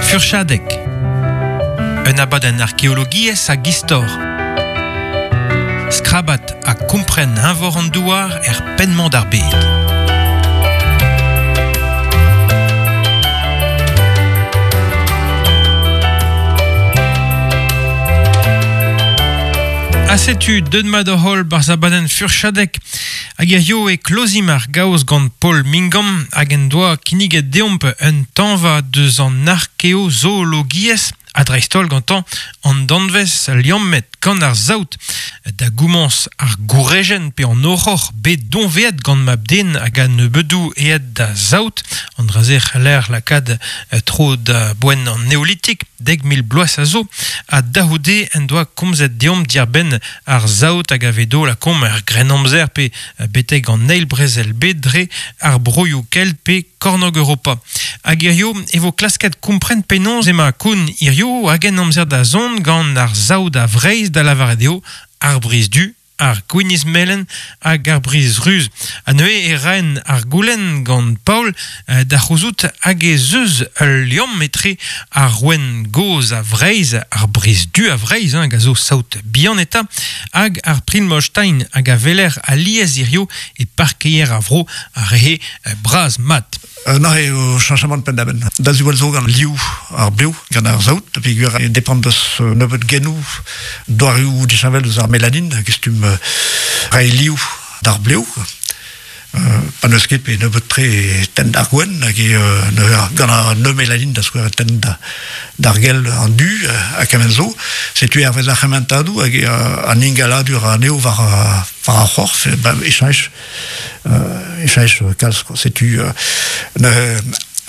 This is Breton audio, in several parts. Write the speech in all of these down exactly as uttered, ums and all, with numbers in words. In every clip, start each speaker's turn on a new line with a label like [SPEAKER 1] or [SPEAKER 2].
[SPEAKER 1] Furchadeg. Un abadenn arkeologiezh hag istor. Skrabat ha kompren eñvor an douar er penn-mañ d'ar bed. Ha setu deut mat hor holl barzh abadenn Furchadeg. Hag hiziv e klozimp ar gaoz gant Paul Mingam hag en doa kinniget deomp un tañva deus an arkeozoologiezh ha dreist-holl gantañ an danvez liammet gant ar saout da gomañs ar gourejenn pe an horror bet doñveet gant mab-den hag an nebedoù aet da saout an dra-se c'haller lakaat tro da boent an neolitik dek mil bloaz a zo ha da-c'houde en doa komzet deomp diarbenn ar saout hag a vedo lakaomp er grennamzer pe betek an eil brezel bet dre ar broioù kelt pe kornog Europa. Hag hiziv e vo klasket kompren penaos ema koun hiziv hag en amzer da zont gant ar saout a Vreizh da lavaret eo ar brizh du, ar gwinizh melen hag ar brizh ruz. Ha neuze e raen ar goulenn gant Paul da c'houzout hag ez eus ul liamm etre ar rouenn gozh a Vreizh, ar brizh du a Vreizh, hein, hag a zo saout bihan eta, hag ar Primolstein hag a weler alies hiziv e parkeier ar vro a rehe bras mat.
[SPEAKER 2] Na eo chañchamant penn-da-benn. Da ziwall zo gant liv ar blev, gant ar saout, peogwir e depend deus nebeut genoù doareoù disheñvel deus ar melanin, hag stumm reiñ liv d'ar blev. Pa n'eus ket pe nebeut-tre e tenn d'ar gwenn, hag e gant ar neumelanin da skouer e tenn d'ar gell an du ha kement zo. Setu hervez ar c'hementadoù hag an ingaladur anezho war war ar c'horf, e cheñch e cheñch kalz. Setu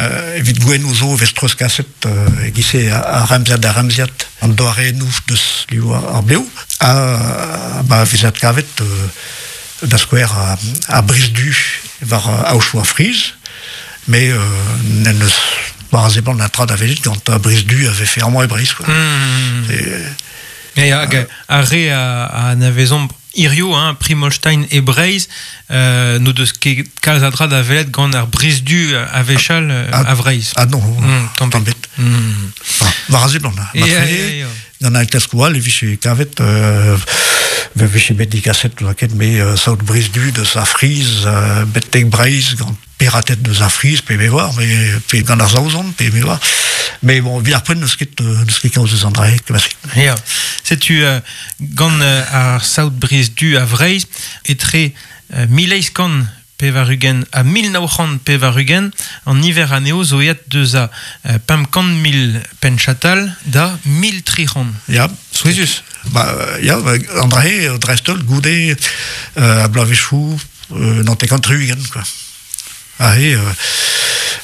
[SPEAKER 2] evit gwennoù zo vez treuzkaset e-giz-se ar remziad da remziad an doarennoù deus liv ar blev ha ba vez adkavet da skouer ar brizh du war aochoù ar friz, mais n'en eus war a seblant an tra da welet gant ar brizh du a vefe amañ e Breizh.
[SPEAKER 1] Mmh. Et hag ar re a anavezomp hiziv, hein, Primolstein e Breizh, euh, n'o deus ket kalz a dra da welet gant ar brizh du a wechall a Vreizh.
[SPEAKER 2] Ah non,
[SPEAKER 1] mm,
[SPEAKER 2] tamm bet.
[SPEAKER 1] Mm.
[SPEAKER 2] War a seblant. Gant an klaskoù all e vije kavet euh, vije bet digaset laket me euh, saout brizh du deus ar friz euh, betek Breizh gant pirated deus ar friz pe me oar, mais pe gant ar Saozon pe me oar. Mais bon, evit ar poent n'eus ket n'eus ket kaoz eus an dra-se kemase.
[SPEAKER 1] Ya, setu euh, gant euh, ar saout brizh du a Vreizh etre euh, mil eizh kant pevar-ugent ha mil nav c'hant pevar-ugent an niver anezho zo aet deus a pemp kant mil penn-chatal da mil tri c'hant.
[SPEAKER 2] Ya,
[SPEAKER 1] souezhus.
[SPEAKER 2] Ba, ya, an dra-se dreist-holl goude euh, a bloavezhioù euh, naontek tri-ugent quoi. Aze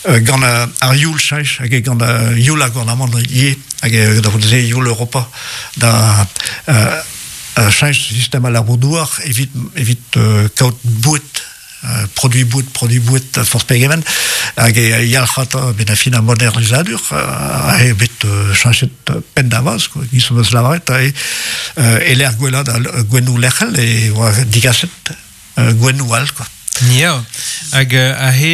[SPEAKER 2] euh, gant ar youl cheñch hag gant ar youl ar gouarnamant ivez hag da vout se youl Europa da euh, cheñch sistem al labour-douar evit evit euh, kaout boued produit boued, produit boued forzh pegement hag e yalc'hata ben a fin ar modernizadur a eo bet cheñchet penn da vaz quoi giz eus lavaret a e lec'h gwellañ da gwennoù lec'hel e oa digaset gwennoù all quoi.
[SPEAKER 1] Ya, hag aze